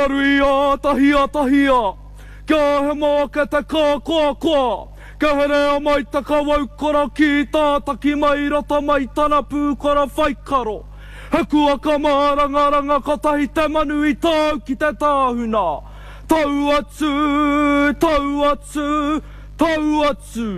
Kia ruia tahia tahia, kia hemo ake te kākoakoa, kia herea mai te kawau korokī tātaki mai roto mai tana pūkoro whaikaro. He kuaka mārangaranga kotahi te manu i tau ki te tāhuna. Tau atu, tau atu, tau atu.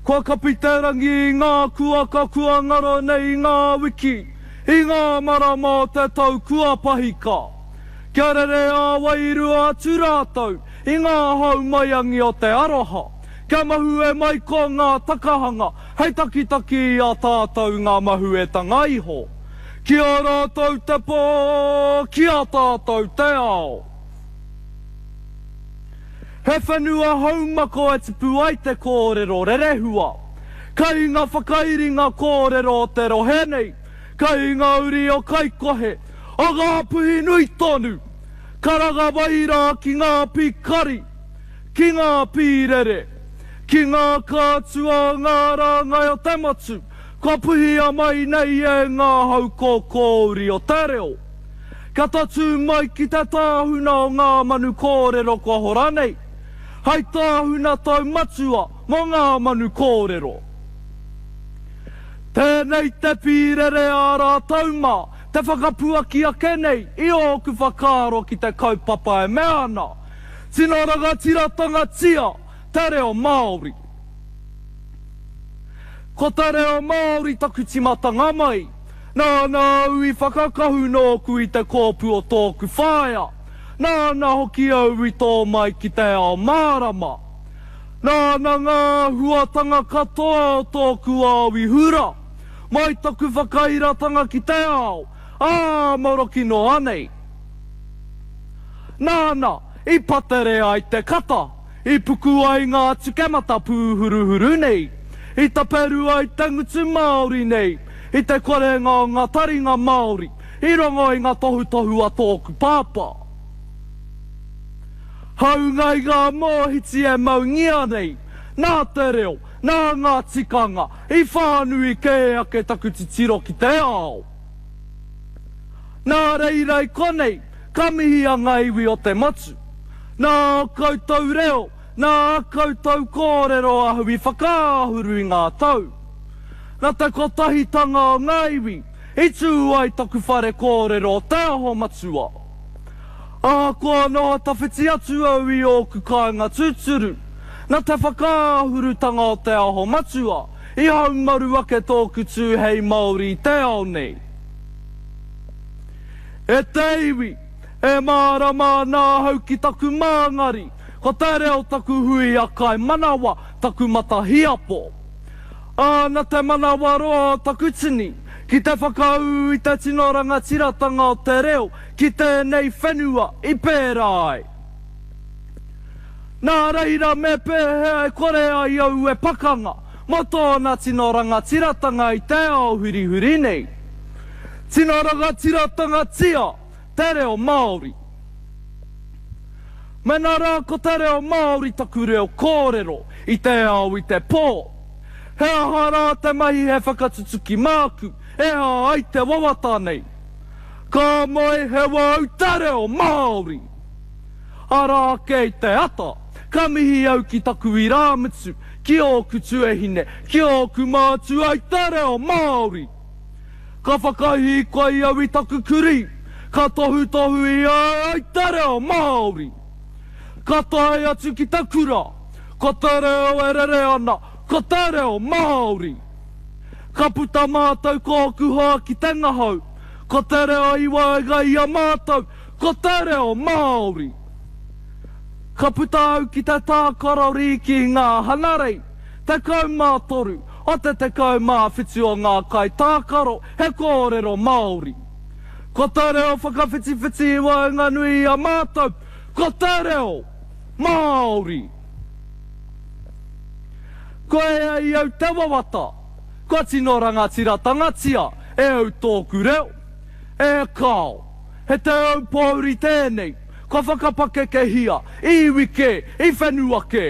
Kua kapi te rangi i ngā kuaka kua ngaro nei i ngā wiki, i ngā marama o te tau kua pahika. Kia rere ā-wairua atu rātou i ngā hau maiangi o te aroha, kia mahue mai ko ngā takahanga hei takitaki i a tātou ngā mahuetanga iho. Ki a rātou te pō, ki a tātou te ao. He whenua haumako e tupu ai te kōrero rerehua. Kai ngā whakairinga kōrero o te rohe nei, kai ngā uri o Kaikohe, o Ngāpuhi nui tonu, karanga mai rā ki ngā pīkari, ki ngā pīrere, ki ngā kātua o ngā rāngai o te motu, kua puhia mai nei e ngā hau kōkōuri o te reo. Kia tatū mai ki te tāhuna o ngā manu kōrero kua hora nei, hei tāhuna taumatua mō ngā manu kōrero. Tēnei te pīrere ā rātou mā te whakapuaki ake nei i ōku whakaaro ki te kaupapa e mea ana, Tino rangatiratanga-tia te reo Māori. Ko te reo Māori taku timatanga mai. Nāna au i whakakahu nōku i te kōpū o tōku whaea. Nāna hoki au i tō mai ki te ao mārama. Nāna ngā āhuatanga katoa o tōku ao i hura, mai taku whakairatanga ki te ao, ā, maroki noa nei. Nāna i patere ai te kata. I puku ai ngā tukemata pūhuruhuru nei, i taperu ai te ngutu Māori nei, i te korenga o ngā taringa Māori i rongo i ngā tohutohu a tōku pāpā. Hāunga i ngā mōhiti e maungia nei, nā te reo, nā ngā tikanga, i whānui kē ake taku titiro ki te ao. Nā reira i konei, ka mihia ngā iwi o te motu. Nā ō koutou reo, nā ā koutou kōrero ahau i whakaahuru i ngā tau. Nā te kotahitanga o ngā iwi i tū ai taku whare kōrero o Te Aho Matua. Ahakoa noho tawhiti atu au i ōku kāinga tūturu, nā te whakaahurutanga o Te Aho Matua i haumaru ake tōku tū hei Māori i te ao nei. E te iwi, e mārama ana ahau ki taku māngari, ko te reo taku huia kaimanawa, taku matahiapo. Ā, na te manawaroa o taku tini, ki te whakaū i te tino rangatiratanga o te reo ki tēnei whenua i pērā ai. Nā reira me pēhea e kore ai au e pakanga mō tōna tino rangatiratanga i te ao hurihuri nei? Tino rangatiratanga-tia te reo Māori. Mena rā ko te reo Māori taku reo kōrero i te ao i te pō, he aha rā te mahi he whakatutuki māku e hā ai te wawata nei? Ka moe he wau te reo Māori! Arā ake i te ata, ka mihi au ki taku irāmutu, ki ōku tuahine, ki ōku mātua i te reo Māori. Ka whakahīkoi au i taku kurī, ka tohutohu i a au i te reo Māori. Ka tae atu ki te kura, ko te reo e rere ana, ko te reo Māori. Ka puta mātou ko ōku hoa ki te ngahau, ko te reo i waenga i a mātou, Ko te reo Māori. Ka puta au ki te tākaro rīki i ngā hanarei, 13 o te 17 o ngā kaitākaro he kōrero Māori. Ko te reo whakawhitiwhiti i waenganui i a mātou, ko te reo Māori. Kua ea i au te wawata, kua tino rangatiratangatia e au tōku reo. E kāo. He te aupōuri tēnei, kua whakapakekehia i iwi kē, i whenua kē.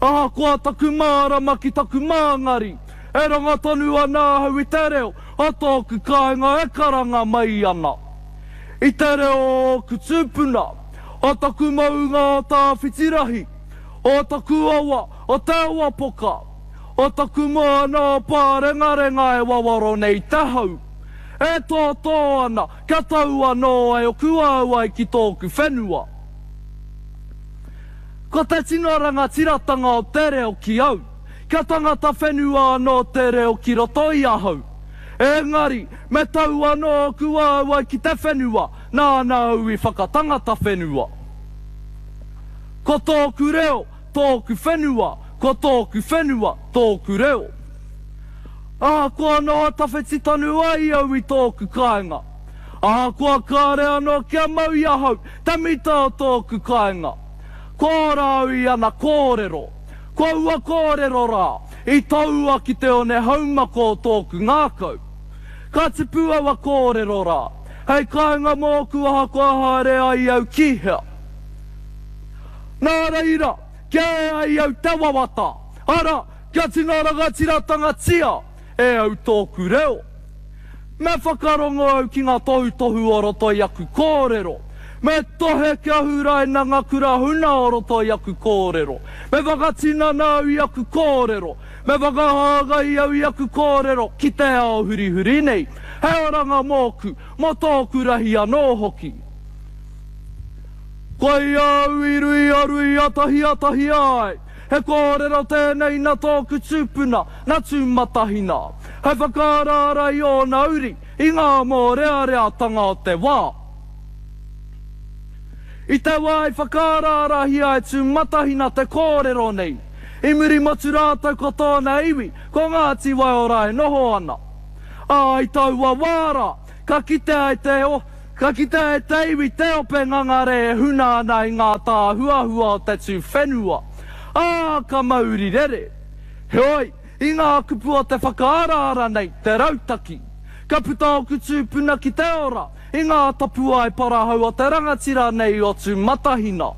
Ahakoa taku mārama ki taku māngari, e rongo tonu ana ahau i te reo o tōku kāinga e karanga mai ana. I te reo o ōku tūpuna, o taku maunga o Tāwhitirahi, o taku awa o Te Awapoka, o taku moana o Pārengarenga e wawaro nei te hau, e tōtō ana kia tau anō ai oku auai ki tōku whenua. Ko te tino rangatiratanga o te reo ki au, kia tangata whenua anō te reo ki roto i ahau. Engari, me tau anō ōku waewae ki te whenua nāna au i whakatangata whenua. Ko tōku reo, tōku whenua, ko tōku whenua, tōku reo. Ahakoa noho tawhiti tonu ai au i tōku kāinga, ahakoa kāre anō kia mau i ahau te mita o tōku kāinga, kua ora au i ana kōrero. Ko aua kōrero rā, i toua ki te one haumako o tōku ngākau. Ka tipu aua kōrero rā, hei kāinga mōku ahakoa haere ai au ki hea. Nā reira, kia ea ai au te wawata, arā, kia tino rangatiratangatia e au tōku reo. Me whakarongo au ki ngā tohutohu o roto i aku kōrero. Me tohe kia huraina ngā kura huna o roto i aku kōrero. Me whakatinana au i aku kōrero. Me whakahāngai au i aku kōrero ki te ao hurihuri nei. He oranga mōku, mō tōku rahi anō hoki. Koia au i ruia ruia tahia tahia ai. He kōrero tēnei nā tōku tupuna, nā Tūmatahina, hei whakaaraara i ōna uri i ngā mōreareatanga o te wā. I te wā i whakaaraarahia e Tūmatahina te kōrero nei, i Murimotu rātou ko tōna iwi, ko Ngāti Waiora e noho ana. Ā, i taua wā rā, Ka kitea e te Ka kitea e te iwi te ope ngangare e huna ana i ngā tāhuahua o te tū whenua, ā, ka mauri rere. Heoi, i ngā kupu o te whakaaraara nei, te rautaki, ka puta ōku tūpuna ki te ora i ngā tapuae parahau o te rangatira nei o Tūmatahina.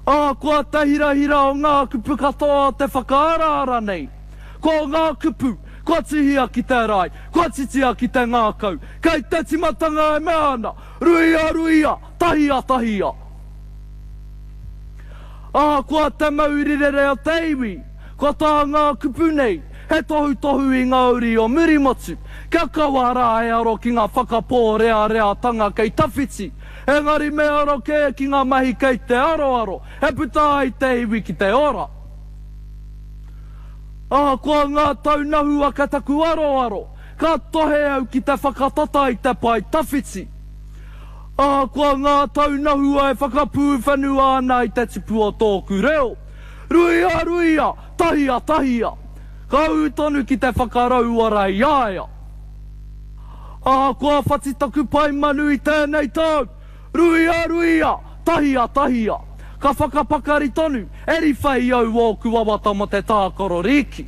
Ahakoa te hirahira o ngā kupu katoa o te whakaaraara nei, ko ngā kupu Kua tuhia ki te rae, kua titia ki te ngākau, kei te timatanga e mea ana, Ruia, ruia, tahia, tahia. Ahakoa te mauri rere o te iwi, ko tā ngā kupu nei, he tohutohu i ngā uri o Murimotu, kia kaua rā e aro ki ngā whakapōreareatanga kei tawhiti, engari me aro kē ki ngā mahi kei te aroaro, e puta ai te iwi ki te ora. Ahakoa ngā taunahu ake taku aroaro, ka tohe au ki te whakatata i te pae tawhiti. Ahakoa ngā taunahua e whakapūwhenua ana i te tipu o tōku reo, ruia ruia, tahia tahia, ka ū tonu ki te whakarauora i a ia. Ahakoa whati taku pae manu i tēnei tau, Ruia, ruia, tahia, tahia. Ka whakapakari tonu, e riwha i au ōku wawata mō te tākaro rīki.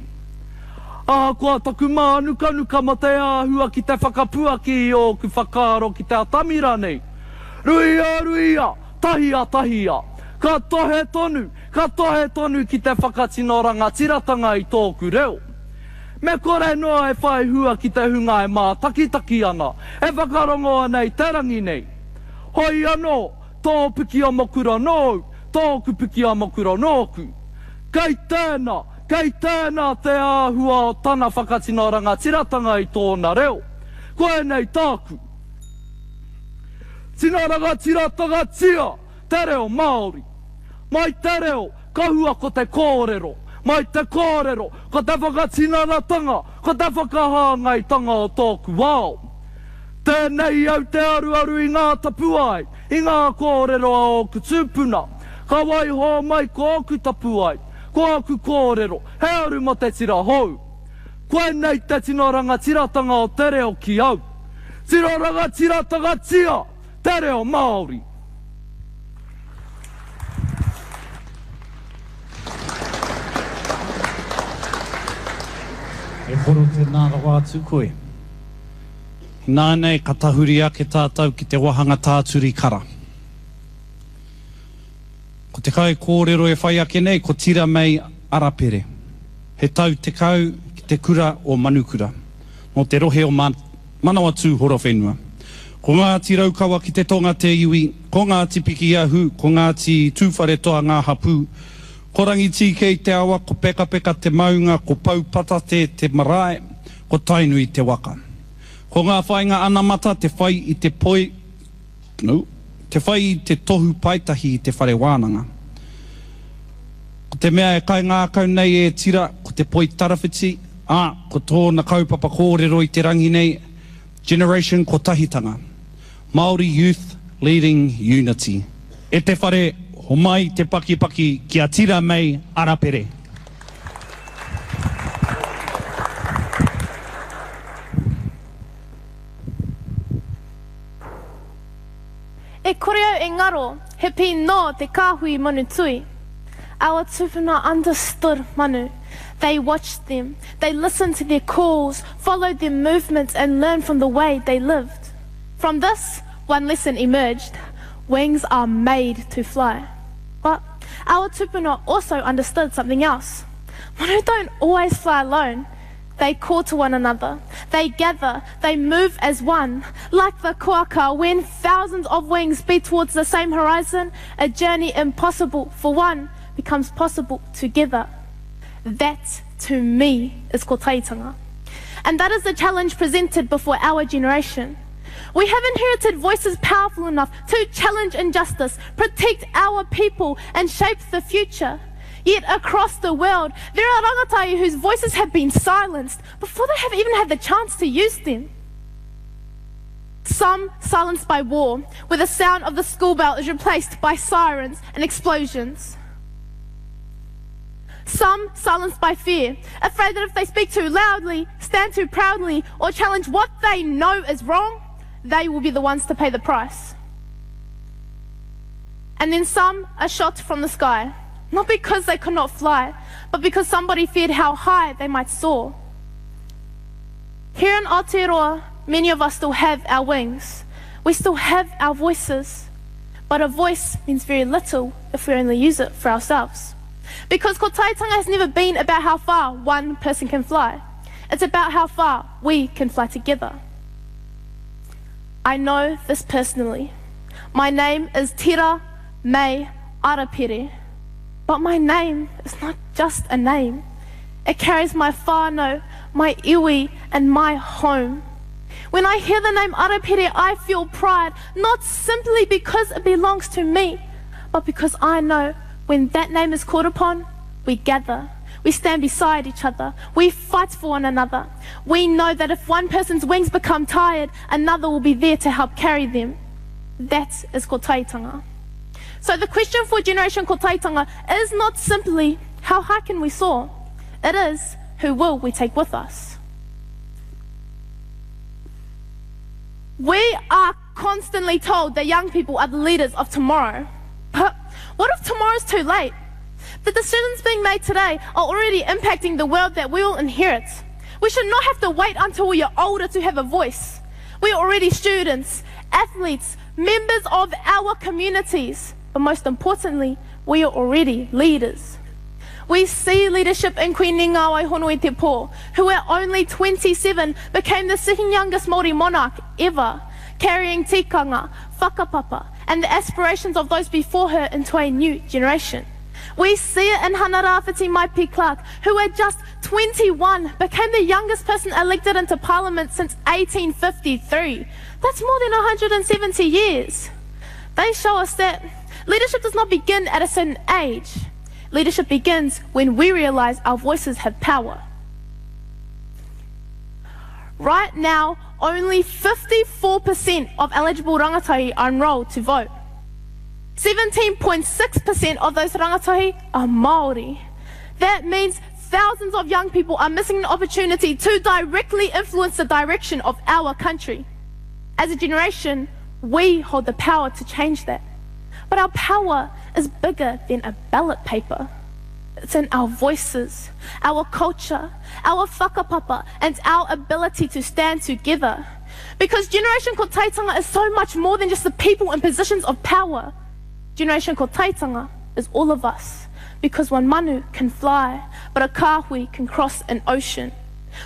Ahakoa taku mānukanuka mō te āhua ki te whakapuaki i ōku whakaaro ki te atamira nei. Ruia, ruia, tahia, tahia. Ka tohe tonu, ka tohe tonu ki te whakatino rangatiratanga i tōku reo. Me kore noa e whai hua ki te hunga e mātakitaki ana, e whakarongo ana i te rangi nei. Hoi anō, tō piki amokura nōu, tōku piki amokura nōku. Kei tēnā, kei tēnā te āhua o tana whakatino rangatiratanga i tōna reo. Koinei tāku. Tino rangatiratanga-tia! Te reo Māori. Mai te reo, ka hua ko te kōrero. Mai te kōrero, ko te whakatinanatanga, ko te whakahāngaitanga o tōku ao. Tēnei au te aruaru i ngā tapuae, i ngā kōrero a ōku tūpuna. Ka waiho mai ko ōku tapuae, ko āku kōrero, he aru mō te tira hou. Koinei te tino rangatiratanga o te reo ki au. Tino rangatiratanga-tia! Te reo Māori. E koro tēnā rawa atu koe. Ināianei ka tahuri ake tātou ki te wahanga tāturi kara. Ko te kaikōrero e whai ake nei ko Tira Mei Arapere. He tau 10 ki te kura o Manukura, nō te rohe o Manawatū Horowhenua. Ko Ngāti Raukawa ki te tonga te iwi, ko Ngāti Pikiahu, ko Ngāti Tūwharetoa ngā hapū. Ko Rangitīkei te awa, ko Pekapeka te maunga, ko Poupatate te marae, ko Tainui te waka. Ko ngā whāinga anamata te whai i te poi, no, te whai i te tohu paetahi i te whare wānanga. Ko te mea e kaingākau nei e Tira, ko te poi tarawhiti, ā, ko tōna kaupapa kōrero i te rangi nei, Generation Kotahitanga, Māori Youth Leading Unity. E te whare, homai te pakipaki ki a Tira May Arapere. E kore au e ngaro, he pī nō te kāhui manu tui. Our tupuna understood manu. They watched them, they listened to their calls, followed their movements and learned from the way they lived. From this, one lesson emerged. Wings are made to fly. But our tupuna also understood something else. Manu don't always fly alone. They call to one another. They gather. They move as one. Like the kuaka, when thousands of wings beat towards the same horizon, a journey impossible for one becomes possible together. That, to me, is kotahitanga. And that is the challenge presented before our generation. We have inherited voices powerful enough to challenge injustice, protect our people, and shape the future. Yet across the world, there are rangatahi whose voices have been silenced before they have even had the chance to use them. Some silenced by war, where the sound of the school bell is replaced by sirens and explosions. Some silenced by fear, afraid that if they speak too loudly, stand too proudly, or challenge what they know is wrong, they will be the ones to pay the price. And then some are shot from the sky, not because they could not fly, but because somebody feared how high they might soar. Here in Aotearoa, many of us still have our wings. We still have our voices. But a voice means very little if we only use it for ourselves. Because kotahitanga has never been about how far one person can fly. It's about how far we can fly together. I know this personally. My name is Tira May Arapere. But my name is not just a name. It carries my whānau, my iwi, and my home. When I hear the name Arapere, I feel pride, not simply because it belongs to me, but because I know when that name is called upon, we gather. We stand beside each other. We fight for one another. We know that if one person's wings become tired, another will be there to help carry them. That is kotahitanga. So the question for Generation Kotahitanga is not simply, how high can we soar? It is, who will we take with us? We are constantly told that young people are the leaders of tomorrow. But what if tomorrow's too late? The decisions being made today are already impacting the world that we will inherit. We should not have to wait until we are older to have a voice. We are already students, athletes, members of our communities. But most importantly, we are already leaders. We see leadership in Queen Ngawai Honoi Te Pō, who at only 27 became the second youngest Māori monarch ever, carrying tikanga, whakapapa, and the aspirations of those before her into a new generation. We see it in Hana-Rawhiti Maipi Clarke, who at just 21 became the youngest person elected into Parliament since 1853. That's more than 170 years. They show us that leadership does not begin at a certain age. Leadership begins when we realize our voices have power. Right now, only 54% of eligible rangatahi are enrolled to vote. 17.6% of those rangatahi are Māori. That means thousands of young people are missing an opportunity to directly influence the direction of our country. As a generation, we hold the power to change that. But our power is bigger than a ballot paper. It's in our voices, our culture, our whakapapa, and our ability to stand together. Because Generation Kotahitanga is so much more than just the people in positions of power. Generation Kotahitanga is all of us. Because one manu can fly, but a kāhui can cross an ocean.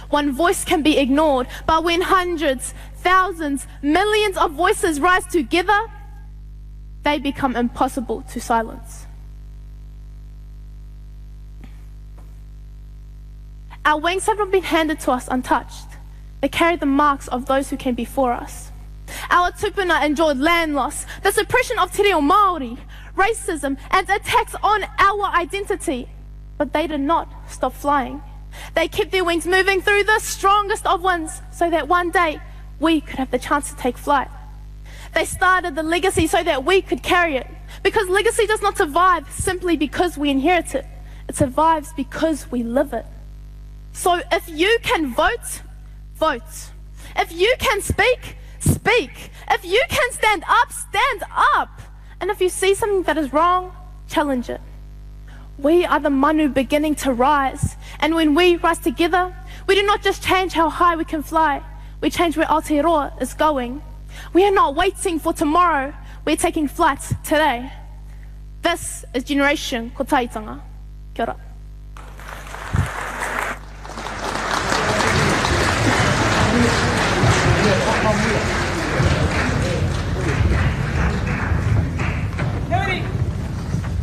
One voice can be ignored, but when hundreds, thousands, millions of voices rise together, they become impossible to silence. Our wings have not been handed to us untouched. They carry the marks of those who came before us. Our tupuna endured land loss, the suppression of te reo Māori, racism, and attacks on our identity. But they did not stop flying. They kept their wings moving through the strongest of winds so that one day we could have the chance to take flight. They started the legacy so that we could carry it. Because legacy does not survive simply because we inherit it. It survives because we live it. So if you can vote, vote. If you can speak, speak. If you can stand up, stand up. And if you see something that is wrong, challenge it. We are the manu beginning to rise. And when we rise together, we do not just change how high we can fly, we change where Aotearoa is going. We are not waiting for tomorrow, we're taking flight today. This is Generation Kotahitanga. Kia ora.